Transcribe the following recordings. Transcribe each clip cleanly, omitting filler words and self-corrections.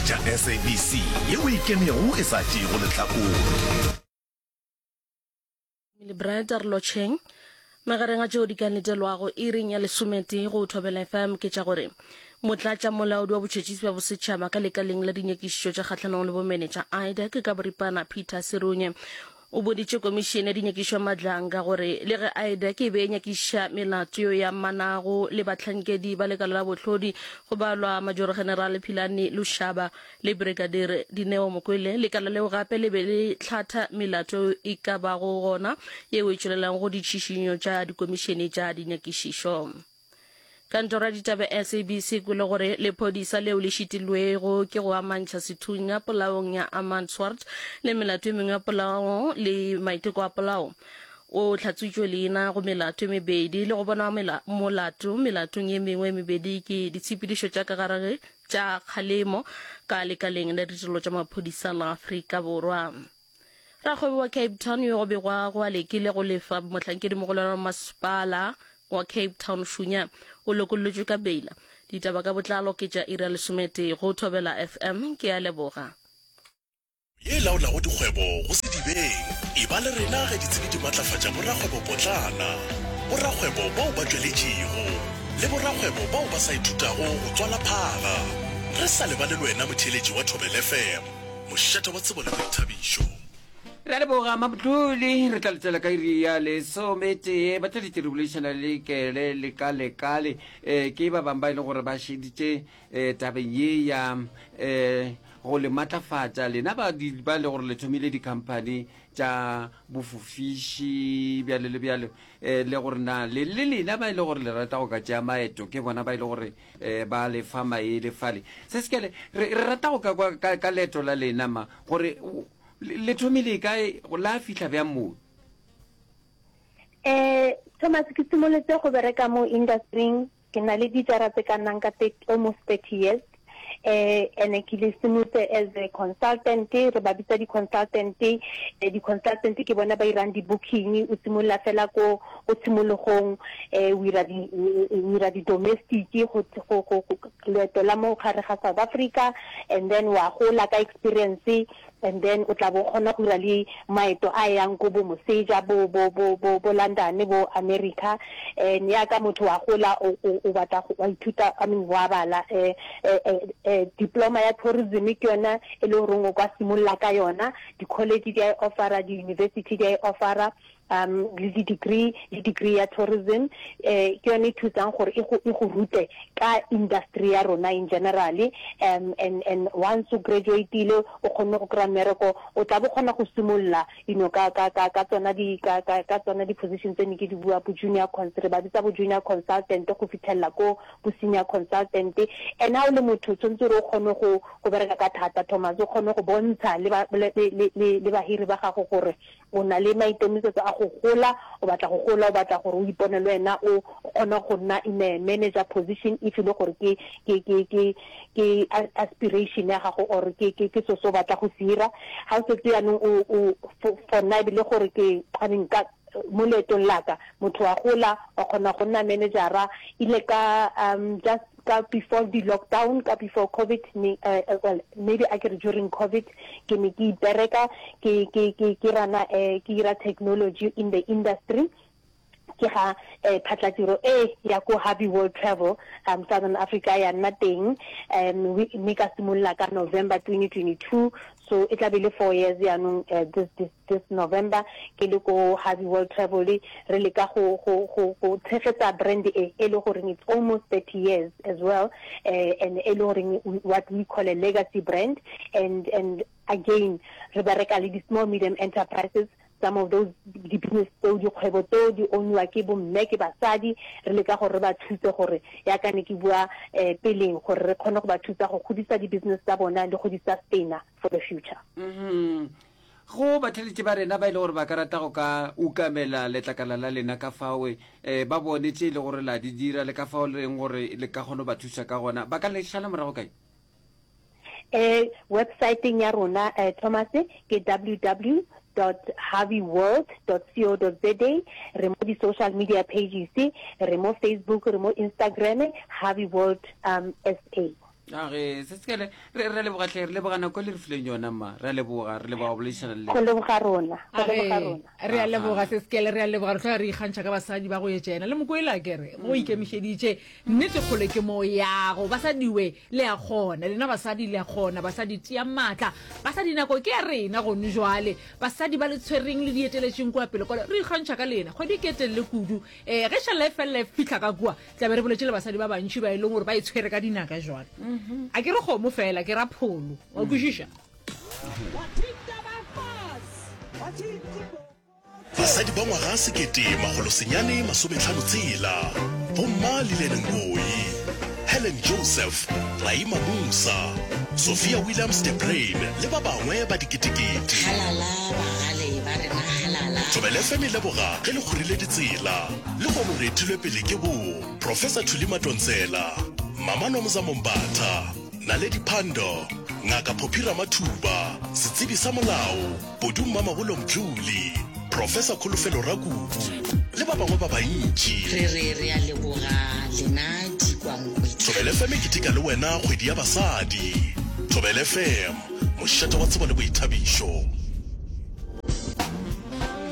tša SABC yeo e ikemego e sa tšeego lehlakore. Emily Bright a re lotšheng. Magareng a tšeo di ka letelwago iring ya lesometee go Thobela FM ke tša gore Motlatšamolaodi wa Botšhotšhisi bja Bosetšhaba ka lekaleng la dinyakišišo tša kgahlanong le bomenetša IDAC ka boripana Peter Serunye o boditše komišene ya dinyakišišo ya Madlanga gore le ge IDAC e be e nyakišiša melato yeo e amanago le bahlankedi ba lekala la bohlodi go balwa Majorogenerale Philani Lushaba le Brigadier Dineo Mokwele, lekala leo gape le be le hlatha melato e ka bago gona yeo e tšwelelago go ditšhišinyo tša dikomišene tša dinyakišišo. Kantoro ya ditaba SABC e kwele gore lephodisa leo le šitilwego ke go amantšha sethunya polaong ya Armand Swart le melato e mengwe ya polao le maiteko a polao o hlatswitšwe leina go melato e mebedi le go bonwa molato melatong ye mengwe e mebedi ke ditshepedišo tša ka gare tša kgalemo ka lekaleng la ditirelo tša maphodisa la Afrika Borwa. Rakgwebo wa Cape Town yo go begwago a lekile go lefa mohlankedimogolo wa masepala wa Cape Town Shunya o lokollotšwe ka beila. Ditaba ka botlalo ke tša iri ya lesometee go Thobela FM. Ke a leboga. Ye e laolago dikgwebo go sedibeng. Eba le rena ge ditsebi di matlafatša borakgwebopotlana, borakgwebo bao ba tšweletšego, le borakgwebo bao ba sa ithutago go tswala phaga. Re sa lebale le wena motheeletši wa Thobela FM, mošate wa tsebo le boithabišo. Re a leboga Mabduli, re tla letela ka iri ya lesometee. Batheeletši re boledišana le Kele le Kalekale, um ke ba bangwe ba e leng gore ba šeditše um tabeng ye ya um go le matlafatša lena ba ba le gore le thomile di-company tša bofofiši bjalo le bjalo um le gore na le le lena ba e le gore le rata go ka tšea maeto ke bona ba e le gore um ba le fa maele fale se sekele re re rata go ka kwa ka, ka leeto la lena ma gore le thomile kae la fihla bjang moo Eh, Thomas, ke simolotse go bereka mo industry Ke na le dijara tse ka nnang ka almost 30 years. Eh, ene ke le simolotse as a consultant, re ba bitsa di-consultant. Eh, di-consultant ke bona ba irang di-booking, o simolola fela ko ko tshimologong, eh, o ira di o ira di-domestic go go go leeto la mo gare ga South Africa, and then wa gola ka experience. And then o tla bo kgona go dira le maeto a yang ko bo moseja, bo, bo, bo, bo, bo London, bo America. And ya ka motho wa gola, o, o, o batla go, wa ithuta, I mean, wa bala. Eh, eh, eh, eh, diploma ya tourism ke yona e le goreng o ka simolola ka yona. Di-college di a e offera, di-university di a e offera. um le di-degree le degree ya tourism eh ke yone e thusang gore e go e go rute ka industry ya rona in general um and and once o graduatile o kgonne go kry-a mmereko o tla bo kgona go simolola you know ka ka ka ka tsona di ka ka ka tsona di-position tse ne ke di bua bo junior cons re ba bitsa bo junior consultant go fitlhelela ko bo senior consultant and ha o le motho tshwanetse gore o kgone go go bereka ka thata Thomas o kgone go bontsha le ba le le le bahiri ba gago gore O na le maikemisetso a go gola, o batla go gola, o batla gore o ipone le wena o kgona go nna in a manager position if e le gore ke ke ke ke ke aspiration ya gago or ke ke ke so se o batla go se ira. Ga o setse jaanong o o for nna e be le gore ke I mean ka mo leetong la ka motho wa gola wa kgona go nna managera ile ka um just ka before di lockdown ka before covid ne uh, well maybe a ke re during covid ke ne ke ipereka ke ke ke ke rana eh, ke ira technology in the industry ke ga eh, phatlatiro e ya ko Harvey World Travel um Southern Africa ya nna teng um mme ka simolola ka November 2022 so e tla be le four years yaanong uh, this this This November ke le ko Harvey World Travel re leka go go go go tshegetsa brand e e le goreng it's almost 30 years as well eh, and e le goreng what we call a legacy brand and and again re bereka le di small medium enterprises some of those di-business tseo dikgwebo tseo di owniwa ke bomme ke basadi re leka gore re ba thuse gore ya ka ne ke bua um peleng gore re kgone go ba thusa go godisa di-business tsa bona le go di sustainer for the future mm -hmm. Go batheeletši ba rena ba e le gore ba ka rata go ka ukamela letlakala la lena ka fao um ba bone tše e le gore la di dira le ka fao le reng gore le ka kgona go ba thuša ka gona, ba ka le šala morago kae? Um websaeteng ya rona um Thomas ke ww dot harveyworld dot co dot za. Re mo di-social media pages, re mo Facebook, re mo Instagram, Harvey World um SA. Age, se sekele re re leboga hle, re leboga nako le re fileng yona mma. Re a leboga, re leboga go boledišana le Go leboga rona, go leboga rona. Re a leboga se sekele, re a leboga. Re tloga re ikgantšha ka basadi ba go etša yena le Mokwele akere go ikemišeditše. Nnete kgole ke mo yago. Basadi we, le a kgona. Lena basadi le a kgona. Basadi tiang maatla. Basadi nako ke ya rena gone jwale. Basadi ba le tshwereng le di eteletšeng kua pele kwale, re ikgantšha ka lena. Kgwedi ke e telele kudu. Ee, ge šalla e felela e fihla ka kua, tla be re boletše le basadi ba bantši ba e leng gore ba e tshwere ka dinaka jwale. A ke re kgomo fela, ke ra pholo. Wa kwešiša? Basadi ba ngwaga 1956, Bomma Lillian Ngoyi, Helen Joseph, Raima Moosa, Sophia Williams de Bruyn le ba bangwe ba diketekete. Halala bagale ba rena halala. Thobela FM e leboga ge le kgorile ditsela. Lehono re etilwe pele ke bo Professor Thuli Madonsela, Mama Nomzamo Mbatha, Naledi Pandor, Ngaka Phophi Ramathuba, setsebi sa molao, Podu Mmamabolo Mdluli, Professor Kholofelo Rakubu le ba bangwe ba bantši. Re re re a leboga lena dikwankwetla. Thobela FM e keteka le wena kgwedi ya basadi. Thobela FM, mošate wa tsebo le boithabišo.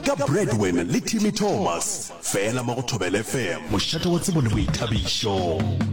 Ka Bradwin le Timmy Thomas, feela mo go Thobela FM, mošate wa tsebo le boithabišo.